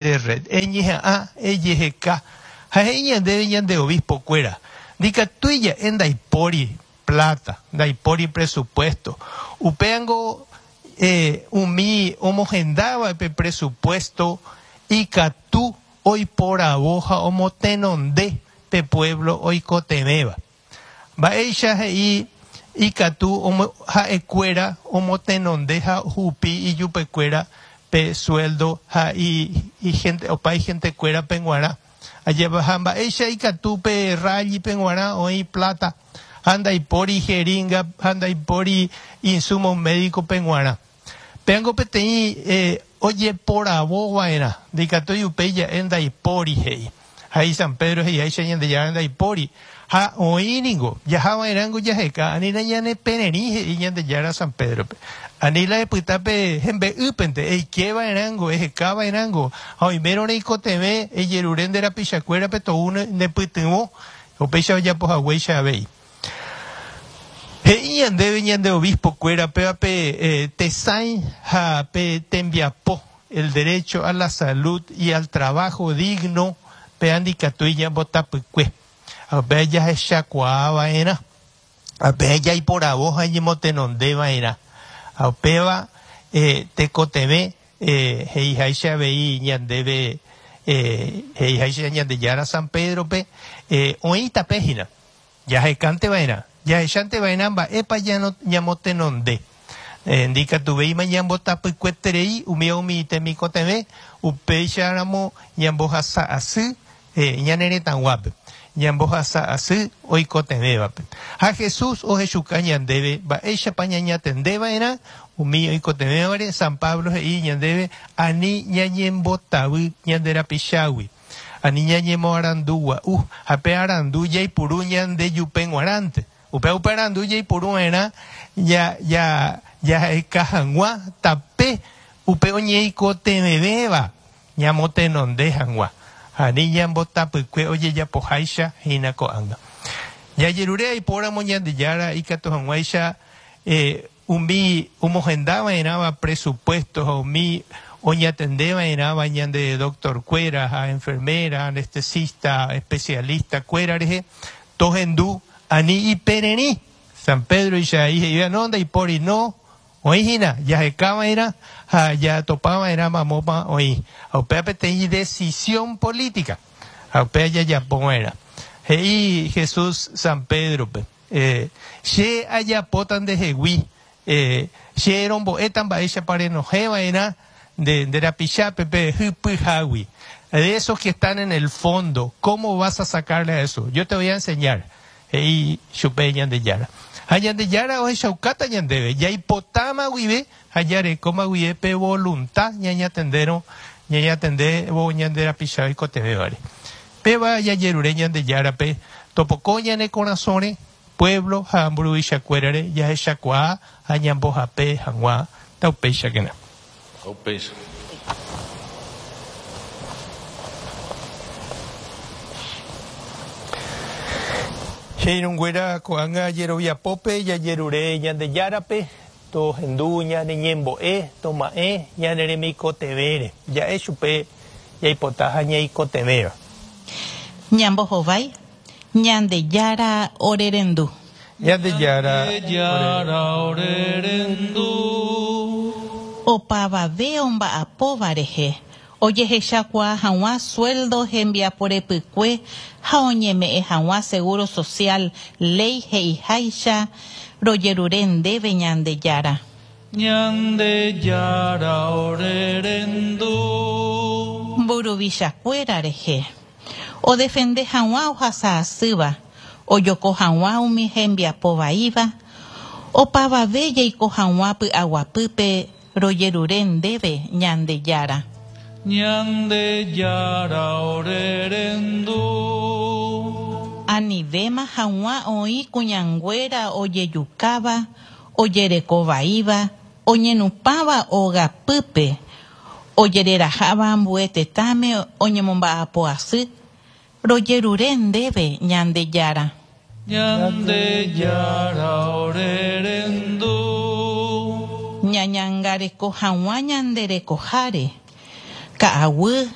De red, eñeha'ã, ejeheka, ha he'i ñandéve ñande obispo-kuéra, ndikatúi ja'e ndaipóri plata, ndaipóri presupuesto. Upévango umi omohendáva pe presupuesto ikatu oiporavo ha omotenonde pe pueblo oikotevẽva. Mba'éicha he'i ikatu ha'ekuéra omotenonde ha ohupi ijupekuéra pe suéldo ha opa ihentekuérape g̃uarã. Ajépa ha mba'éicha ikatu pe rally-pe g̃uarã oĩ pláta ha ndaipóri jeringa ha ndaipóri insumos médico-pe g̃uarã. Péango peteĩ ojeporavo va'erã, ndaikatúi upéi ja'e ndaipóri, he'i. Ha he'i San Pedro he'iháicha Ñandejára ndaipóri. Ha oĩ ningo, jaha va'erãngo jaheka, ani la ñane pererĩ, he'i Ñandejára San Pédrope. Ani la epyta pe hembe'ýpente, eike va'erãngo, eheka va'erãngo, ha oimérõ reikotevẽ ejerure nde rapichakuérape tou ne pytyvõ, upéicha ojapo haguéicha avei. He'i ñandéve ñande obispo-kuéra péva pe tesãi ha pe tembiapo, el derecho a la salud y al trabajo digno, péva ndikatúi ñambotapykue. Ha upéva jahechakuaa va'erã. Ha upéva jaiporavo ha ñemotenonde va'erã. Ha upéva tekotevẽ he'iháicha avei ñandéve, he'iháicha Ñandejára San Pedro-pe, oĩ tape hína. Jahekánte va'erã, jahechánte va'erã mba'épa ñamotenonde. Ndikatuvéima ñambotapykueterei umíva umi temikotevẽ, upéicharamo ñambohasa asy ñane retãguápe, ñambohasa asy oikotevẽvape. Ha Jesús ohechuka ñandéve mba'éichapa ñañatende va'erã umi oikotevẽvare, San Pablo he'i ñandéve ani ñañembotavy ñande rapichágui. Ani ñañemoarandu gua'u, ha pe arandu jaipuru ñande jupe g̃uarãnte. Upéva upe arandu jaipuru va'erã jaheka hag̃ua tape upe oñeikotevẽvéva ñamotenonde hag̃ua, ha ani ñambotapykue ojejapoháicha hína ko'ág̃a. Jajerure aipóramo Ñandejára ikatu hag̃uáicha Umi omohenda va'erãva presupuesto ha umi oñatende va'erãva ñande doctor kuéra ha enfermera, anestesista, especialista kuéra rehe, tohendu ani ipererĩ. San Pedro-icha he'i he'íva, no, ndaipóri, no, oĩ hína, jaheka va'erã ha jatopa va'erã mamópa oĩ. Ha upéva peteĩ decisión política, ha upéva jajapo va'erã. He'i Jesús San Pedro-pe. Che ajapóta ndehegui, che rombo'éta mba'éichapa renohẽ va'erã nde rapichápe pe hypyhágui. De esos que están en el fondo, cómo vas a sacarle a eso? Yo te voy a enseñar, he'i chupe Ñandejára. Ha Ñandejára ohechaukáta ñandéve, jaipotáma guive ha jarekóma guive pe voluntad ñañatendérõ, ñañatendévo ñande rapicha oikotevẽvare. Péva jajerure Ñandejárape topoko ñane korasõre, pueblo ha mburuvichakuérare jahechakuaa ha ñambohape hag̃ua. Taupéichakena. Taupéicha. Che irũnguéra ko'ág̃a jeroviapópe jajerure Ñandejárape tohendu ñane ñembo'e, toma'ẽ ñane remikotevẽre, ja'e chupe jaipota ha ñaikotevẽva. Ñambohovái, Ñandejára orerendu. Ñandejára orerendu. Opavave omba'apóva rehe, ojehechakuaa hag̃ua sueldo hembiapo repykue ha oñeme'ẽ hag̃ua seguro social léi he'iháicha, rojerure ndéve Ñandejára. Ñandejára ore rendu. Mburuvichakuéra rehe. Odefende hag̃ua ohasa asýva, ojoko hag̃ua umi hembiapo vaíva, opavave jaiko hag̃ua py'aguapýpe rojerure ndéve Ñandejára. Ñandejára ore rendu. Anivéma hag̃ua oĩ kuñanguéra ojejukáva ojereko vaíva, oñenupãva ogapýpe, ojereraháva ambue tetãme oñemomba'apo asy, rojerure ndéve Ñandejára. Ñandejára ore rendu. Ñañangareko hag̃ua ñande rekoháre, ka'aguy.